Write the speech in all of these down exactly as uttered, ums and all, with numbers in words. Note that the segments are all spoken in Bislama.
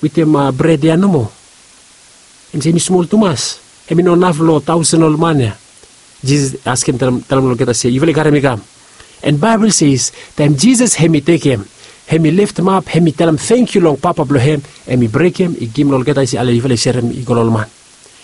wetem bred ya nomo. Hem se hem i smol tumas, hem i no naf long taosen ol man ya. Jisas askem talem long olgeta se, yufala i karem mi kam. An baebol ses taem jisas hem i tekem, hem i leftemap, hem i talem tangkiu long papa blong hem, hem i brekem i givim long olgeta i se ale yufala i serem i go long ol man.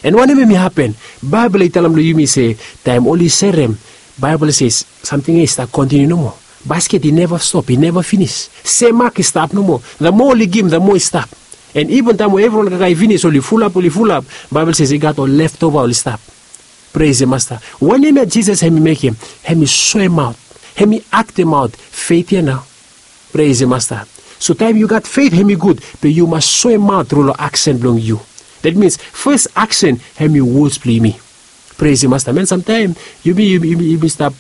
An wanem hem i hapen? Baebol i talem long yumi se taem oli serem, baebol i se samting ya i stap kontiniu nomo. Basket i neva stop, i neva finis. Sem mak i stap nomo, the moa oli givim the moa i stap. An iven taem we evriwan kakae i finis, oli fulap, oli fulap, baebol se i gat ol leftova oli stap. Pres ya masta. Wanem ya jisas hem i mekem? Hem i soemaot, hem i aktemaot fet ya nao. Pres ya masta. So taem yu gat fet hem i gud, be yu mas soemaot tru long aksen blong yu. Dat mins fes aksen hem i wods blong yumi. Pres ya masta man, samtaem yumi yumi stap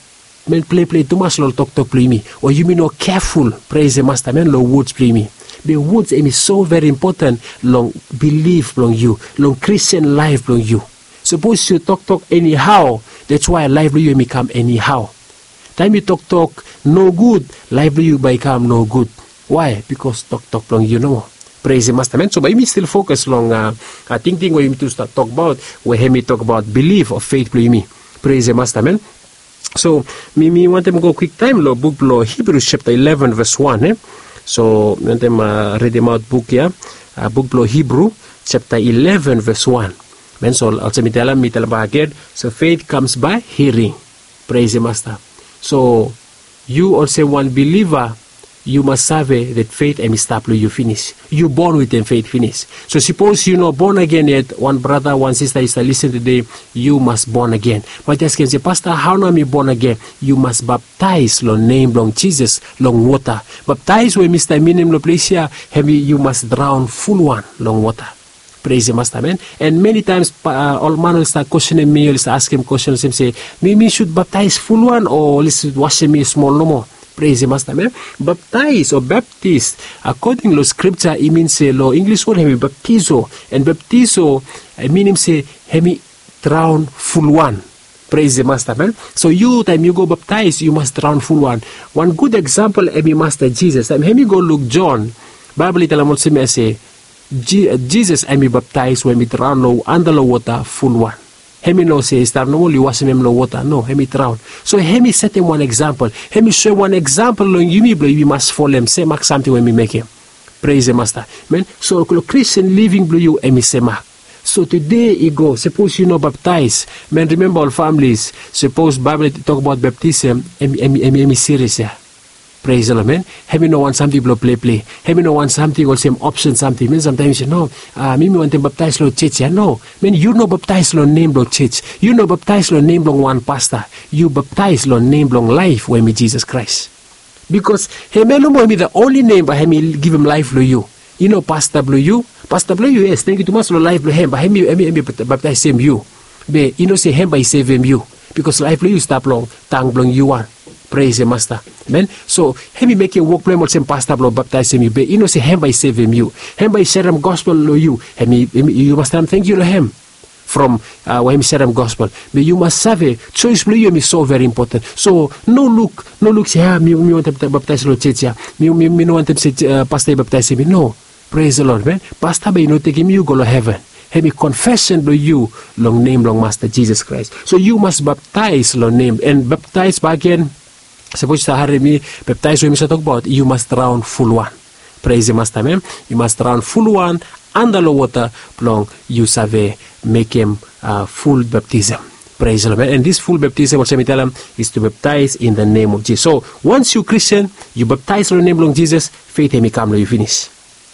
man pleplei tumas long ol toktok blong yumi, o yumi no keful. Pres ya masta man, long wods blong yumi. Be wods hem i so veri impoten long bilif blong yu, long kristian laef blong yu. Sapos yu toktok enihao, dats wae laef blong yu hem i kam enihao. Taem yu toktok nogud, laef blong yu bae i kam nogud. Wae? Bikos toktok blong yu nomo. Pres ya masta man. So bae yumi stil fokas long tingting we yumi tu stap tokbaot, we hem i tokbaot bilif o fet blong yumi. Pres ya masta man. So mi mi wantem go kwiktaem long buk blong hibrus septa ileven ves wan e. So mi wantem ridimaot buk ya, buk blong hibru septa ileven ves wan. Man, so olsem mi talem mi talem bak agen. So fet kams bae hiring. Pres ya masta. So yu olsem wan biliva, yu mas save dat fet hem i stap long yu finis. Yu bon wetem fet finis. So sapos yu no bon agen yet, wan brata, wan sista i stap lisen tude, yu mas bon agen. Bat yu askem se, pasta, hao nao mi bon agen? Yu mas baptaes long nem blong jisas long wota. Baptaes we mi stap minim long ples ya, hem i yu mas draon fulwan long wota. Pres ya masta man. An meni taems ol man oli stap kwesenem mi, oli stap askem kwesen olsem se, mi mi sud baptaes fulwan o oli sud wasem mi smol nomo? Pres ya masta man. Baptaes o baptis, akoding long skripta i min se long inglis wod hem i baptizo. An baptizo i minim se hem i draon fulwan. Pres ya masta man. So yu taem yu go baptaes yu mas draon fulwan. Wan gud eksampol hem i masta jisas. Taem hem i go luk jon, baebol i talem olsem ya se, jisas hem i baptaes we hem i draon long anda long wota fulwan. Hem i no se i stap nomo oli wasem hem long wota, no, hem i draon. So hem i setem wan eksampol, hem i soem wan eksampol long yumi blong yumi mas folem semak samting we hem i mekem. Pres ya masta man. So long kristian living blong yu hem i semak. So tude i go, sapos yu no baptaes man, rimemba ol familis, sapos baebol i tokbaot baptisem, hem i serias ya. Pres ya lod man. Hem i no wan samting blong pleplei. Hem i no wan samting olsem opsen samting man. Samtaem yu se, no, mi mi wantem baptaes long joj ya. No man, yu no baptaes long nem blong joj. Yu no baptaes long nem blong wan pasta. Yu baptaes long nem blong laef we hem i jisas kraes. Bikos hem ya nomo hem i the onli nem bae hem i givim laef long yu. I no pasta blong yu. Pasta blong yu, yes, tangkiu tumas long laef blong hem, bae hem i baptaesem yu. Be i no se hem bae i sevem yu. Bikos laef blong yu i stap long tang blong yu wan. Pres ya masta man. So hem i mekem wok blong hem olsem pasta blong baptaesem yu, be i no se hem bae i sevem yu. Hem bae i serem gospel long yu. Hem i yu mas talem tangkiu long hem from we hem i serem gospel. Be yu mas save, joes blong yu hem i so veri impoten. So no luk, no luk se, a mi wantem baptaes long joj ya. Mi no wantem se pasta i baptaesem mi. No. Pres ya lod man. Pasta bae i no tekem yu go long heven. Hem i konfesen blong yu long nem blong masta jisas kraes. So yu mas baptaes long nem, an baptaes bakegen, sapos yu save harem mi, baptaes we mi save tokbaot, yu mas draon fulwan. Pres ya masta man. Yu mas draon fulwan anda long wota blong yu save mekem ful baptisem. Pres ya lod man. An dis ful baptisem olsem mi talem, is tu baptaes in the nem of jisas. So wans yu kristian, yu baptaes long nem blong jisas, fet hem i kam long yu finis.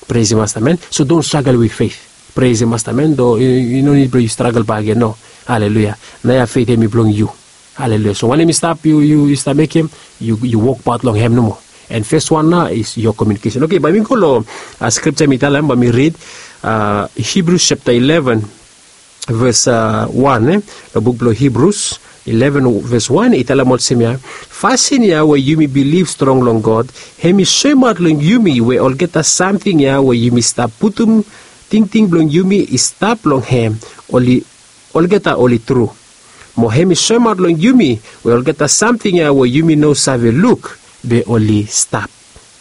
Pres ya masta man. So don stragel wit fet. Pres ya masta man. Do i no nid blong yu stragel bakegen, no. Aleluia. Naoia fet hem i blong yu. Aleluia. So wanem i stap yu stap mekem, yu wokbaot long hem nomo. An fes wan nao is yo kominikesen. Oke, bae mi go long skripta mi talem, bae mi rid hibrus septa ileven ves wan e, long buk blong hibrus ileven ves wan i talem olsem ya, fasin ya we yumi bilif strong long god, hem i soemaot long yumi we olgeta samting ya we yumi stap putum tingting blong yumi i stap long hem, oli olgeta oli tru. Mo hem i soemaot long yumi we olgeta samting ya we yumi no save luk, be oli stap.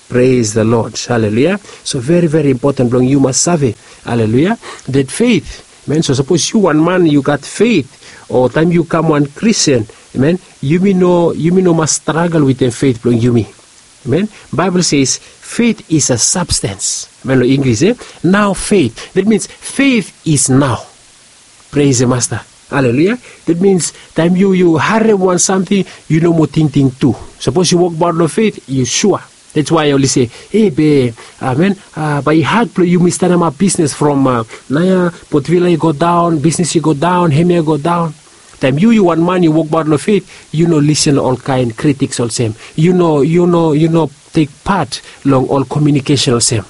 Praise the Lord. Haleluya. So veri veri impoten blong yu mas save, haleluya, that faith, amen. So sapos yu wan man yu gat faith, o taem yu kam wan Christian, amen, yumi no yumi no mas stragel wetem faith blong yumi. Amen. Bible says faith is a substance, amen, long English, e? Now faith, that means faith is now. Praise the Master. Haleluya. That means taem yu yu harem wan samting, yu no moa tingting tu. Sapos yu wokbaot long faith, yu sua. That's why oli se, e be, amen, bae i had blong yumi stanemap bisnes from naoia, potvila i go daon, bisnes i go daon, hemia i go daon. Taem yu yu wan man yu wokbaot long faith, yu no lisen long olkaen kritiks olsem, yu no yu no yu no tek pat long ol komiunikesen olsem.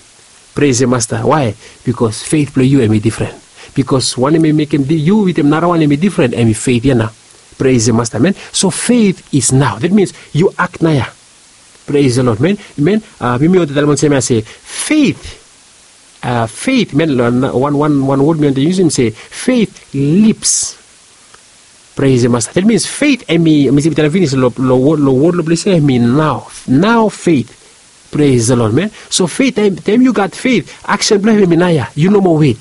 Praise the Master. Why? Bikos faith blong yu em i difren. Bikos wanem i mekem yu wetem narawan em i difren, em i faith ya nao. Praise the Master, amen. So faith is now, that means yu ak naoia. Praise the Lord, amen. Amen. Yumi wantem talem olsem ya se faith, faith, amen, wan wan wan wod mi wantem yusim se faith lips. Praise the Master. That means faith em i mi se mi talem finis long wod long ples ya em i nao. Nao faith. Praise the Lord, amen. So faith, taem yu gat faith, aksen blong hem em i naoia. Yu no moa wet.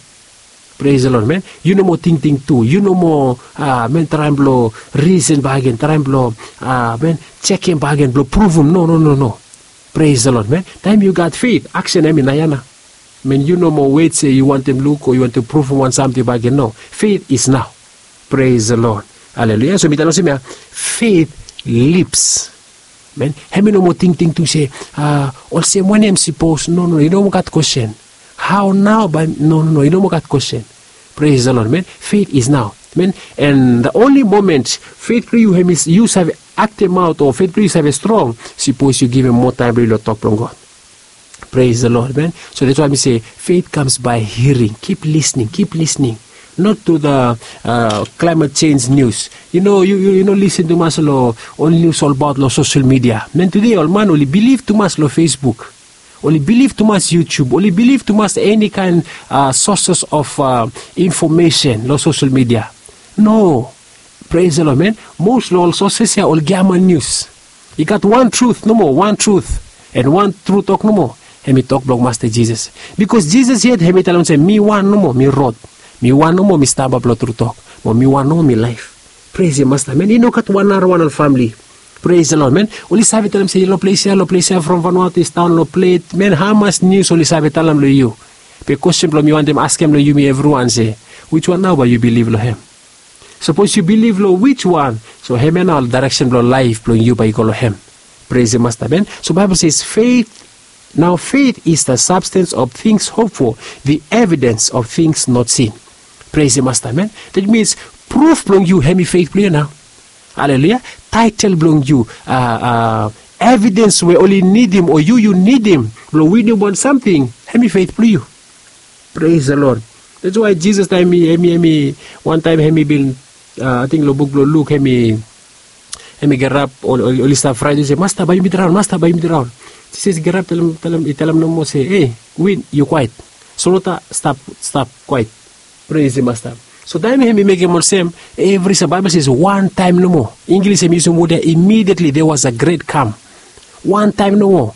Praise the Lord, amen. Yu no moa tingting tu, yu no moa, amen, traem blong risen bakegen, traem blong, amen, jekem bakegen blong pruvum. No no no no. Praise the Lord, amen. Taem yu gat faith, aksen em i naoia nao. Amen. Yu no moa wet se yu wantem luk o yu wantem pruvum wan samting bakegen. No, faith is nao. Praise the Lord. Haleluya. So mi talem olsem ya, faith lips. Amen. Hem i no moa tingting tu se, olsem wanem sipos? No no no, i no moa gat kwestin. Hao nao bae? No no no, i no moa gat kwestin. Praise the Lord, amen. Faith is nao, amen. And the only moment faith blong yu hem i yu save aktemaot o faith blong yu save strong, sipos yu givim moa taem blong yu long tok blong God. Praise the Lord, amen. So that's why mi se faith comes by hearing. Kip lisning, kip lisning. Not to the climate change news. Yu no yu yu no lisen tumas long ol nius olbaot long sosel media. Man, tude ol man oli bilif tumas long Facebook, oli bilif tumas YouTube, oli bilif tumas eni kaen sources of information long sosel media. No. Praise the Lord, amen. Mos long ol sources ya oli giaman nius. I gat wan trut nomo, wan trut. And wan tru tok nomo, hem i tok blong Masta Jisas. Bikos Jisas yet hem i talem olsem, mi wan nomo mi rod, mi wan nomo mi stap long tru tok, mo mi wan nomo mi laef. Praise the Master, amen. I no gat wan narawan long famili. Praise the Lord, amen. Oli save talem se long ples ya, long ples ya, from Vanuatu i stap long plet, amen. Hamas nius oli save talem long yu? Be kwestin blong mi wantem askem long yumi evriwan se, wiswan nao bae yu bilif long hem? Sapos yu bilif long wiswan, so hemia nao ol daereksen blong laef blong yu bae i go long hem. Praise the Master, amen. So Baebol se faith, nao faith is the substance of things hoped for, the evidence of things not seen. Praise the Master, amen. That means pruf blong yu hem i faith blong yu nao. Haleluya. Taetel blong yu, evidens we oli nidim o yu yu nidim blong winim wan samting, hem i faith blong yu. Praise the Lord. That's why Jisas taem hem i hem i wantaem hem i bin, ating long buk blong Luk, hem i hem i gerap, oli stap fraet, oli se, Masta, bae yumi draon, Masta, bae yumi draon. Jisas i gerap, talem talem i talem nomo se, e, win, yu kwaet. Solwota, stap, stap kwaet. Praise the Master. So taem hem i mekem olsem, evri sa Baebol se wantaem nomo. Inglis hem i yusum wod ya, immediately there was a great calm. Wantaem nomo,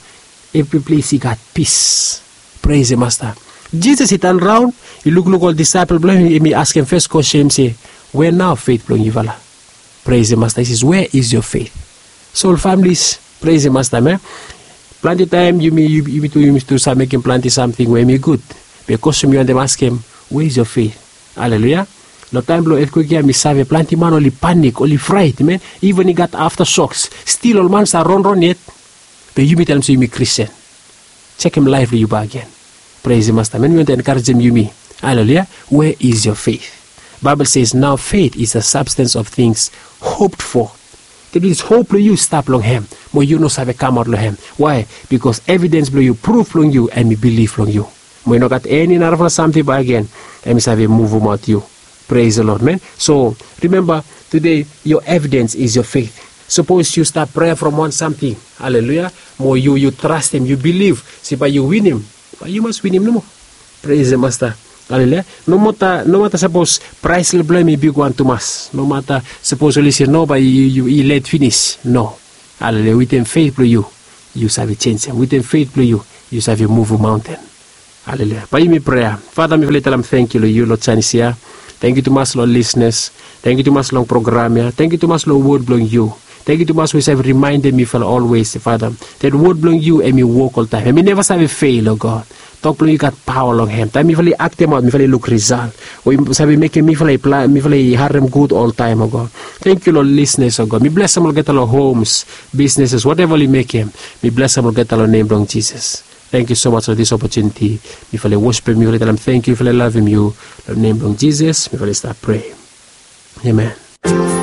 evri ples i gat pis. Praise the Master. Jisas i tanraon, i lukluk ol disaepol blong hem, hem i askem fes kwestin, hem i se, we nao faith blong yufala? Praise the Master. He says, where is your faith? So ol families, praise the Master, amen. Plante taem yumi yumi tu yumi tu save mekem plante samting we hem i gud. Be kwestin mi wantem askem, where is your faith? Haleluya. Long taem blong etkwek ya mi save plante man oli panik, oli fraet, amen. Iven i gat aftershoks, stil ol man sa ronron yet. Be yumi talem se yumi Kristin. Jekem laef blong yu bakegen. Praise the Master, amen. Mi wantem enkarejem yumi. Haleluya. Where is your faith? Baebol says, nao faith is the substance of things hoped for. That means hop blong yu stap long hem, mo yu no save kamaot long hem. Wae? Bikos evidens blong yu, pruf blong yu, hem i bilif long yu. Mo i no gat eni narafala samting bakegen hem i save muvumaot yu. Praise the Lord, amen. So rimemba, tude, your evidens is your faith. Sapos yu stap prea from wan samting, haleluya, mo yu yu trastem, yu bilif se bae yu winim, bae yu mas winim nomo. Praise the Master. Haleluya. Nomata nomata sapos praes blong hem i bigwan tumas, nomata sapos oli se no, bae yu yu i let finis, no. Haleluya. Wetem faith blong yu, yu save jenjem. Wetem fet blong yu yu save muvum maonten. Haleluya. Bae yumi prea. Fada, mifala i talem tangkiu long yu long janis ya. Tangkiu tumas long lisnas. Tangkiu tumas long program ya. Tangkiu tumas long wod blong yu. Tangkiu tumas we yu save rimaendem mifala olwes, Fada, dat wod blong yu hem i wok oltaem, hem i neva save fel, o God. Tok blong yu i gat paoa long hem. Taem mifala i aktemaot mifala i luk risal we yu save mekem mifala i harem gud oltaem, o God. Tangkiu long lisnas, o God. Mi blesem olgeta long homs, bisneses, wateva oli mekem. Mi blesem olgeta long nem blong Jisas. Tangkiu so maj long dis opotuniti. Mifala i wosipem yu, mifala i talem tangkiu, mifala i lavem yu. Long nem blong Jisas mifala i stap prea. Amen.